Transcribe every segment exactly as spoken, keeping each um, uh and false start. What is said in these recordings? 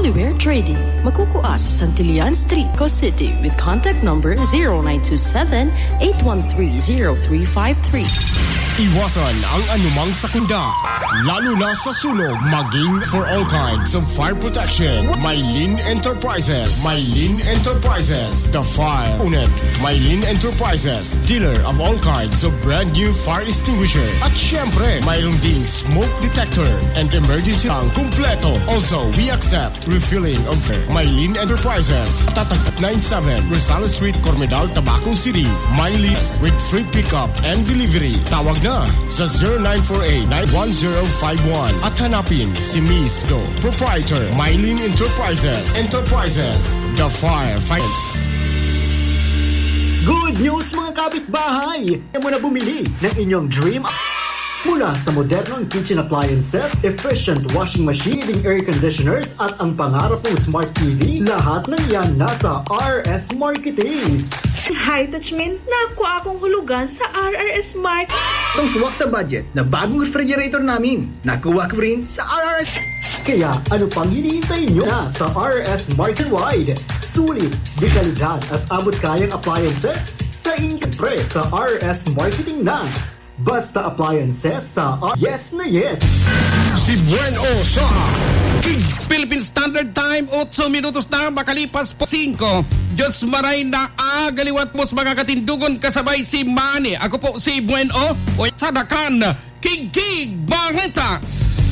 We're trading. Magkukua sa Santillan Street, Co City with contact number zero nine two seven, eight one three, zero three five three. Iwasan ang anumang sakuna, lalo na sa sunog, maging for all kinds of fire protection. Mylene Enterprises. Mylene Enterprises. The fire unit. Mylene Enterprises. Dealer of all kinds of brand new fire extinguisher. At syempre, mayroon ding smoke detector and emergency ang kumpleto. Also, we accept refilling of Mylene Enterprises. Tatag nine seven, Rosales Street, Cormedal, Tabaco City. Mylene with free pickup and delivery. Tawag na sa zero nine four eight, nine one zero five one at hanapin si Miss Do, proprietor, Mylene Enterprises. Enterprises, the fire fight. Good news, mga kapitbahay! Kaya mo na bumili ng inyong dream mula sa modernong kitchen appliances, efficient washing machine, air conditioners, at ang pangarap mong smart T V, lahat ng yan nasa R S Marketing. Hi, Tachmin! Nakuha akong hulugan sa R R S Market. Itong swak sa budget na bagong refrigerator namin, nakuha ko rin sa R R S. Kaya ano pang hinihintay nyo na sa R R S Market Wide? Sulit, de kalidad at abot kayang appliances sa inyong pre sa R R S Marketing na. Basta appliances sa R-, yes na yes. Si Buen O sa Philippine Standard Time, otso minutos na makalipas po singko. Diyos maray na agaliwat mo sa mga katindugon kasabay si Manny. Ako po si Buen O, o sa Dakan, Kigkig Bangeta.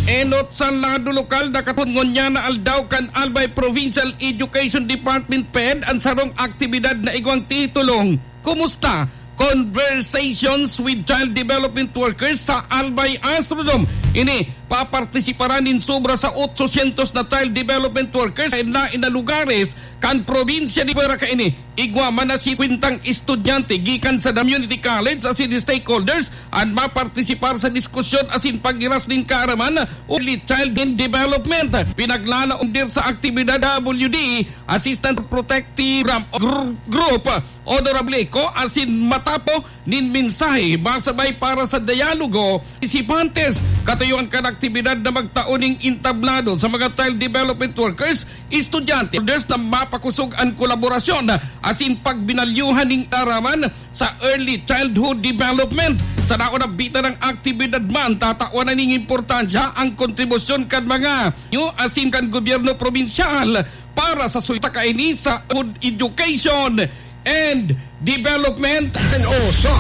Enot sa lado lokal, nakatungon niya na aldaw kan Albay Provincial Education Department ped an sarong aktibidad na igwang titulong, Kumusta? Conversations with Child Development Workers sa Albay Astrodome. Ini, papartisiparan nin sobra sa otsosyentos na child development workers sa lain na lugares kan probinsya ni Fuera kaini. Igwa man na singkwentang estudyante gikan sa community college asin stakeholders an mapartisipar sa diskusyon asin paghiras nin kaaraman o early child in development. Pinaglalaom dir sa aktibidad W D, Assistant Protective Program o gr-, Group, Honorable Eco, asin matapo nin mensahe masabay para sa dialogo, partisipantes, katuyuan kan aktibidad na magtao ning entablado sa mga child development workers, estudyante, others na mapakosog an kolaborasyon asin pagbinalyuhan nin kaaraman sa early childhood development. Sa naunabita ng aktibidad man, tatawan na ning importansya ang kontribusyon kan mga nyo asin kan gobyerno probinsyal para sa suyta kaini sa food education and development. N O sa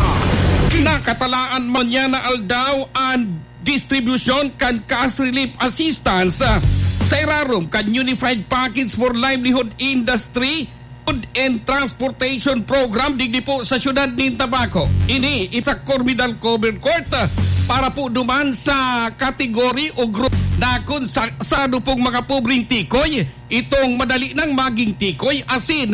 Nakatalaan man niya na aldaw an distribusyon kan cash relief assistance, ah, sa irarom kan Unified Package for Livelihood Industry, Food and Transportation Program digdi po sa siyudad nin Tabaco. Ini, sa Cormedal Covered Court, ah, para po duman sa kategori o grupo na kun sa, sa dupong mga pobreng tikoy, itong madali nang maging tikoy asin